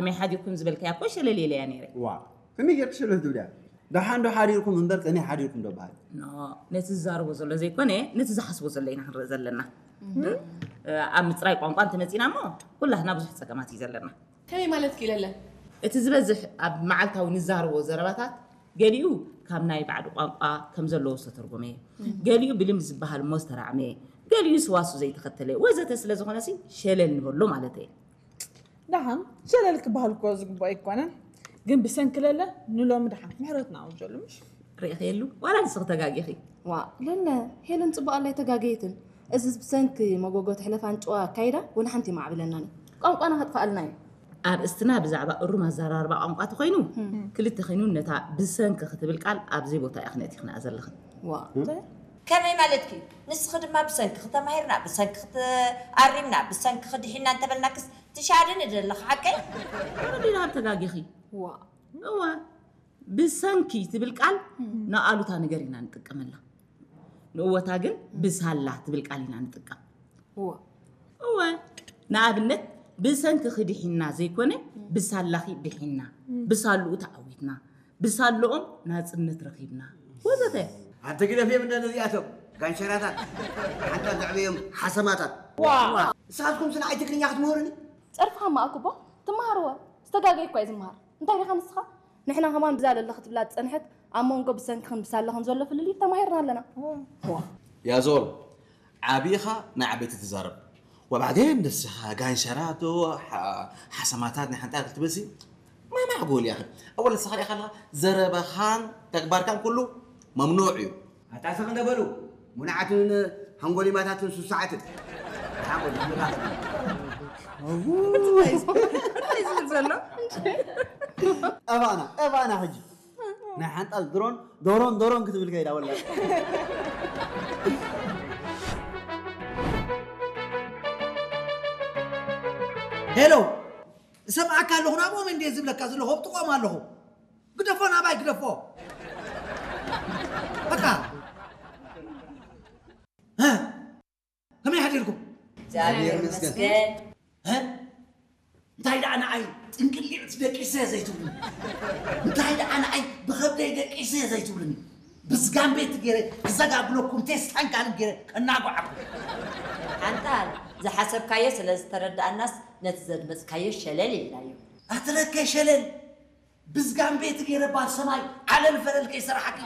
ከመይ ሓዲርኩም ዝበልካያ እኮ ሸለል ኢለያ ነይረ። ዋ ከመይ ጌርክ ሸለል ትብልያ? ደሓን ዶ ሓዲርኩም እምበር ከመይ ሓዲርኩም ዶ በሃል? ነቲ ዝዛረቦ ዘሎ ዘይኮነ ነቲ ዝሓስቦ ዘሎ ኢና ክንርኢ ዘለና። ኣብ ምፅራይ ቋንቋ እንተመፂና እሞ ኩላህና ብዙሕ ፀገማት እዩ ዘለና። ከመይ ማለት ክኢለለ? እቲ ዝበዝሕ ኣብ መዓልታዊ ንዛረቦ ዘረባታት ገሊኡ ካብ ናይ ባዕዲ ቋንቋ ከም ዘለዎ ዝተተርጎመ፣ ገሊኡ ብልምዲ ዝበሃል እሞ ዝተራዕመ፣ ገሊኡ ስዋሱ ዘይተኸተለ ወዘተ ስለ ዝኾነሲ ሸለል ንበሎ ማለት እየ። ደሓን ሸለል ክበሃል እኮ ዝግባእ ኣይኮነን፣ ግን ብሰንኪ ለለ ንሎሚ ደሓን ምሕረት ንኣውጀሉ ምሽ? ርኢኽየሉ ዋላ ንስኺ ተጋጊኺ። ዋ ለለ ሄለን ፅቡቕ ኣላ ኣይተጋገየትን። እዚ ብሰንኪ መጎጎ ትሕለፍ ኣንጭዋ ኣካይዳ ወላ ሓንቲ የማዕብለናን እዩ። ቋንቋና ከጥፍኣልና እዩ። ኣርእስትና ብዛዕባ እሩም ኣዘራርባ ቋንቋ ተኾይኑ ክልተ ኾይኑ ነታ ብሰንኪ ክትብል ቃል ኣብ ዘይቦታ ኢኽን ኣእቲኽንኣ ዘለኽን። ዋ ከመይ ማለትኪ? ንስኺ ድማ ብሰንኪ ክተማሂርና፣ ብሰንኪ ክትኣሪምና፣ ብሰንኪ ክድሒና እንተበልናክስ ትሻድኒ ደለኺ ሓቀይ? ወዲና ተጋጊኺ። ዋ እዋ ብሰንኪ ትብል ቃል ንኣሉታ ነገር ኢና ንጥቀመላ። ንእወታ ግን ብሳላ ትብል ቃል ኢና ንጥቀም። እወ ንኣብነት ብሰንኪኺ ድሒና ዘይኮነ ብሳላኺ ድሒና፣ ብሳልኡ ተዓዊትና፣ ብሳልኦም ናፅነት ረኺብና ወዘተ። ኣንተ ግደፍዮም እንደ ነዚኣቶም ጋንሸራታት ሓንታ ዘዕበዮም ሓሰማታት። ንስኻትኩም ስለ ኣይ ትግርኛ ክትምህሩኒ? ፀርፍኻ ማእክቦ ትመሃርዎ ዝተጋገይ እኳ እዩ ዝመሃር። እንታይ ዲኻ ንስኻ? ንሕና ከማን ብዛ ለለ ክትብላ ዝጸንሐት ኣብ መንጎ ብሰንክኽን ብሳላኽን ዘሎ ፍልልይ ተማሂርና ኣለና። ያዞል ዓቢኻ ንዓበይቲ ትዛረብ። ወባዕዴን ንስኻ ጋንሸራቶ ሓሰማታት ናይ ሓንጣ ክትበሲ ማማዕ ጎል ያኽል። ኣወል ንስኻ ሪኻ ኣለኻ ዘረባኻን ተግባርካን ኩሉ መምኑዕ እዩ። ኣታ ስቕ እንደ በሉ ሙናዓትን ሃንጎሊማታትን ሱሳዓትን። ዘሎ ጠባና ጠባና ሕጂ ናይ ሓንጣል ድሮን ዶሮን ዶሮን ክትብል ከይዳ ወላ ሄሎ እሰምዓካ ኣለኹ ናብኦም እንደ ዝብለካ ዘለኹ ኣብጥቆም ኣለኹ ግደፎ ናባይ ግደፎ በቃ ከመይ ሓዲርኩም እግዚኣብሔር ይመስገን እንታይ ደኣ ንዓይ ጥንቅሊዕት ደቂሰ ዘይትብሉኒ እንታይ ደኣ ንዓይ ብኸብደይ ደቂሰ ዘይትብሉኒ ብዝጋምቤት ገይረ ክዘጋግለኩም ቴስታን ካልእ ገይረ ከናጓዓኩም ሓንጣል ዝሓሰብካዮ ስለ ዝተረዳእናስ ነቲ ዘድመፅካዮ ሸለል ኢልናዮ ኣትረከ ሸለል ብዝጋምቤ እቲ ገይረ ባር ሰማይ ዓለል ፈለል ከይሰራሓኪ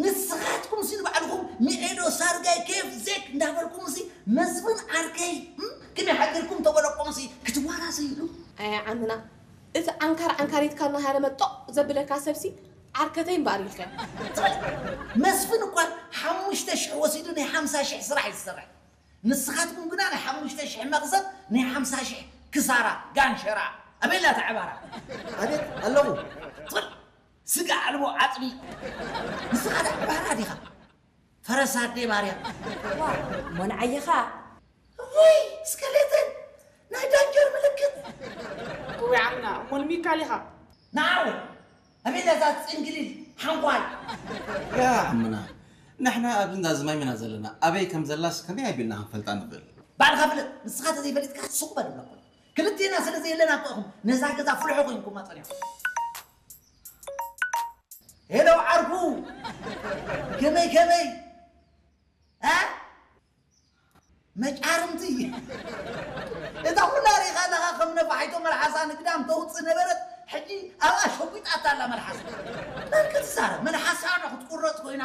ንስኻትኩም ሲ ንባዕልኹም ሚዔዶ ሳርጋይ ኬፍ ዜክ እንዳበልኩም ሲ መስፍን ዓርከይ ክመይ ሓገርኩም ተበለቆም ሲ ክትዋራሰይሉ ኣይ ዓምና እቲ ዓንካር ዓንካሪትካ እናሃረ መጦቕ ዘብለካ ሰብሲ ዓርከተይ እምበኣር ኢልካ መስፍን እኳ ሓሙሽተ ሽሕ ወሲዱ ናይ ሓምሳ ሽሕ ስራሕ እዩ ዝሰርሕ ንስኻትኩም ግና ናይ ሓሙሽተ ሽሕ መኽሰብ ናይ ሓምሳ ሽሕ ክሳራ ጋንሸራ ኣበይ ኣላ ተዕባራ ኣቤት ኣለኹ ትብል ስጋ ኣልቦ ዓፅሚ ንስኻ ዳ ባራ ዲኻ ፈረስ ኣደይ ባርያ ሞንዓይኻ ወይ ስከሌተን ናይ ዳንጀር ምልክት እወ ዓምና እሞ ንሚካል ኢኻ ንዓወ ኣበይ እዛ ፅንግሊል ሓንኳል ያ ዓምና ንሕና ኣብዚ እንዳ ዝማም ኢና ዘለና ኣበይ ከም ዘላስ ከመይ ኣቢልና ክንፈልጣ ንኽእል ባዕልኻ ፍለጥ ንስኻ ተዘይፈሊጥካ ስቕ በል ብለኩም ክልቴና ስለ ዘየለና እኮ ኢኹም ነዛ ገዛ ፍልሖ ኮይንኩማ ፀኒኹም ሄሎ ዓርኩ ከመይ ከመይ መጫርምቲ እታ ኩላ ሪኻ ኣለኻ ከም ነፋሒቶ መልሓሳ ንግዳም ተውፅእ ነበረት ሕጂ ኣብኣ ሸጒጣታ ኣላ መልሓሳ መን ክትዛረብ መልሓሳ ዶ ክትቁረፅ ኮይና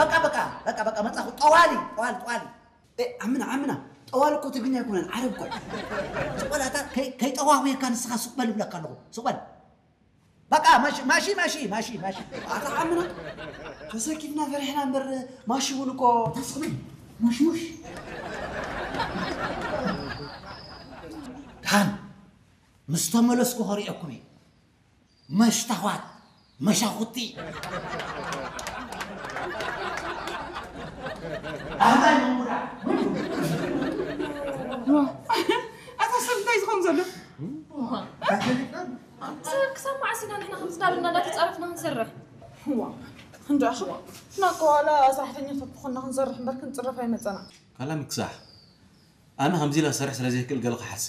በቃ በቃ በቃ በቃ መፃኹ ጠዋሊ ጠዋሊ ጠዋሊ ኣምና ኣምና ጠዋሊ እኮ ትግርኛ ኣይኮነን ዓረብ እኮ ሱቅ በል ኣታ ከይጠዋወየካ ንስኻ ሱቅ በል ይብለካ ኣለኹ ሱቅ በል በቃ ማሺ ማሺ ማሺ ማሺ ማሺ ኣታ ዓምና ተሰኪፍና ፈሪሕና እምበር ማሺ እውን እኮ ተስኽብል ሙሽሙሽ ድሓን ምስ ተመለስኩ ከሪኤኩም እዩ መሽታዋት መሻኹቲ ኣህላይ መንጉዳ ኣታ ሰብ እንታይ ዝኸውን ዘሎ ክሳብ መዓስ ኢና ንሕና ከምዚ ዳብልና እንዳተፃረፍና ክንሰርሕ እንዳ ኣኽዋ ናኮ ዋላ ሰራሕተኛታት ዝኾንና ክንሰርሕ እምበር ክንፅረፍ ኣይመፀና ካላ ምክሳሕ ኣነ ከምዚ ኢለ ክሰርሕ ስለ ዘይክእል ገለ ክሓስብ